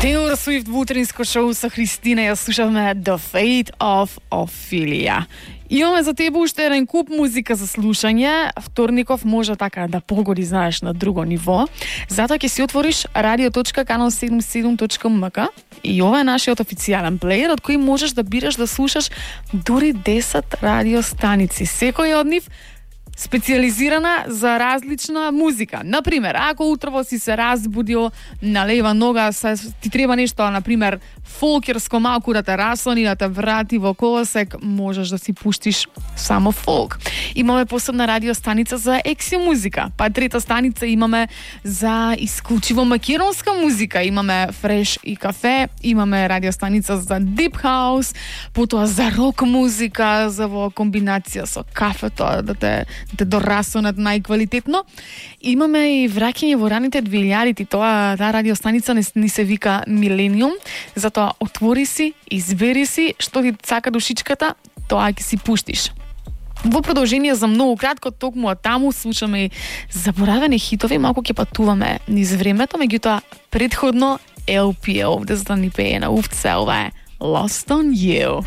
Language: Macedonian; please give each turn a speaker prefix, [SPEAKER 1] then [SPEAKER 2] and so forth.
[SPEAKER 1] Taylor Swift во утринско шоу со Христина, ја слушавме The Fate of Ophelia. Имаме за тебе уште еден куп музика за слушање. Вторников може така да погоди, знаеш, на друго ниво. Затоа ќе си отвориш radio.canal77.mk и ова е нашиот официјален плеер од кој можеш да бираш да слушаш дури 10 радиостаници. Секој од нив специализирана за различна музика. Например, ако утрово си се разбудил на лева нога, ти треба нешто, например, фолкерско малку да те расони, да те врати во колосек, можеш да си пуштиш само фолк. Имаме посебна радиостаница за екси музика, па трета станица имаме за исклучиво македонска музика, имаме фреш и кафе, имаме радиостаница за дип хаус, потоа за рок музика, за во комбинација со кафето, да те дорасонат најквалитетно. Имаме и враќање во раните 2000-ти, таа радиостаница ни се вика Милениум, затоа отвори си, избери си што ти цака душичката, тоа ќе си пуштиш. Во продолжение за многу кратко, токму од таму слушаме и заборавени хитови, малку ќе патуваме низ времето, меѓутоа предходно LPO, овде за да ни пее на увце, ова е Lost on You.